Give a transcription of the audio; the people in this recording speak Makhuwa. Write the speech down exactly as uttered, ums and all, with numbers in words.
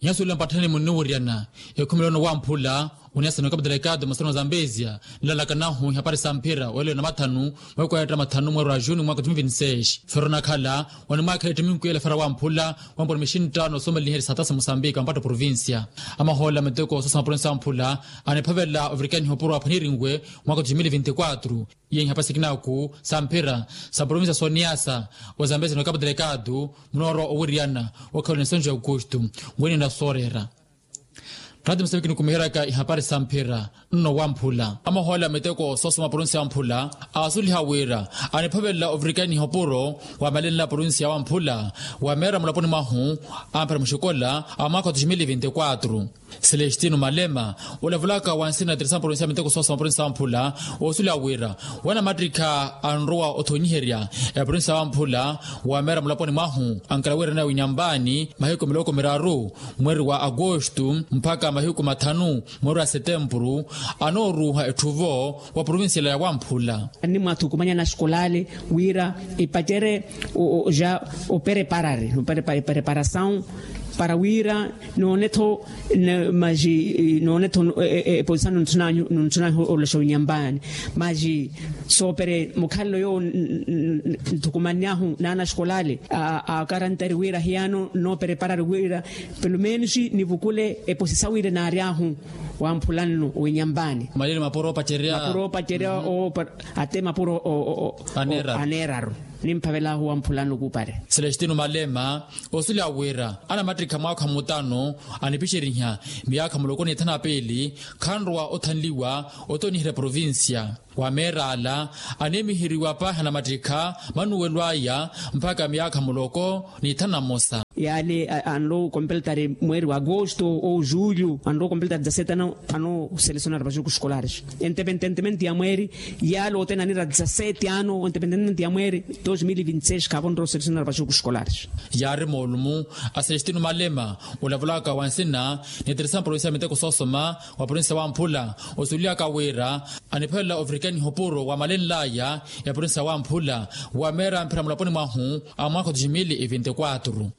Nyasulila mpatthani munniwuryana ekhumela ono wamphula, oniyasana okapitala ekaato masana wa zambezia, nilalakanahu ihapari sa mphira weelo na mathanu, mweeko wa yatta mathanu mweerwa juni mwaaka wa tumi vinti seis. Fero nakhala onimwaakhela ettiminkwiya elafara wamphula, wampura mixintta noosomeleliherya satasi musambika mpatta provincia. Amahoola miteko soosa maprovincia wamphula, aniphavela ovirikaniha opuro waphwanirinwe mwaaka wa tumi vinti kwatru. Iye nhapasi kinaku sa mphira sa provincia soniyasa, ozambezia no kapitala ekaato, munoorwa owiryana okhala onisonjo ya aukustu, ngwini nasoorera. Rati museviki nikumiheryaka ihapari sa mphira nno wamphula. Amahoola miteko soosoma provincia wamphula, aasuliha wira aniphavelela ovirikaniha opuro wa malenla provincia wamphula, wa meera mulaponi mwahu, amphira muxikola a mwaaka wa tumi vinti kwatru. Celestino malema, olavulaka wansina na teresa provincia miteko soosoma provincia wamphula, oosuliha wira wanamattikha anrowa othonyiherya eprovincia wamphula, wa meera mulaponi mwahu ankala wira nawe winyambaani mahiku miloko miraru mweeri wa agosto mpakha mahiku mathanu mweeri wa setempuru, anooruuha etthuvo wa provincia ila ya wamphula. Animwathukumanya na eskolale wira epacerye ja opereparari, opereparasawu para wira noone-tho maji noone-tho eposisa nonthunahu olaxa winyambaani. Maji soopere mukhalelo yoowo nthukumanyahu n'anaxkolale a karantari wira hiyano noopereparari wira pelomenos nivukule eposisa wira naaryahu wamphula nno winyambaani. Malili mapuro opacerya mapuro opacerya ate mapuro aneeraru. Nimphavelaahu wamphula nno kuupare. Celestino malema, osuliha wira anamattikha mwaakha mutano anipixeriha miyaakha muloko ni thanu na piili, khanrowa othanliwa otoniherya provincia. Wa meera ala aneemiheriwa paahi anamattikha manuwelo aya mpakha miyaakha muloko ni thanu na mosa. Yaale anlo kompeltari mweeri wa agosto ou julho anlo kompeltari dizasete ano ano selecionari vajuku eskolari. Entepententemente ya mweeri yaale othene anira dizasete ano entepententemente ya mweeri dos mil vinti seis khaavonre oselecionari vajuku eskolari. Yaari moolumu a celestino malema olavulaka wansina ni teresa provincia ya miteko soosoma wa provincia wamphula, osulyaka wira aniphelela ovirikaniha opuro wa malenlaya ya provincia wamphula wa meera mphira mulaponi mwahu a mwaakha wa dos mil vinti kwatru.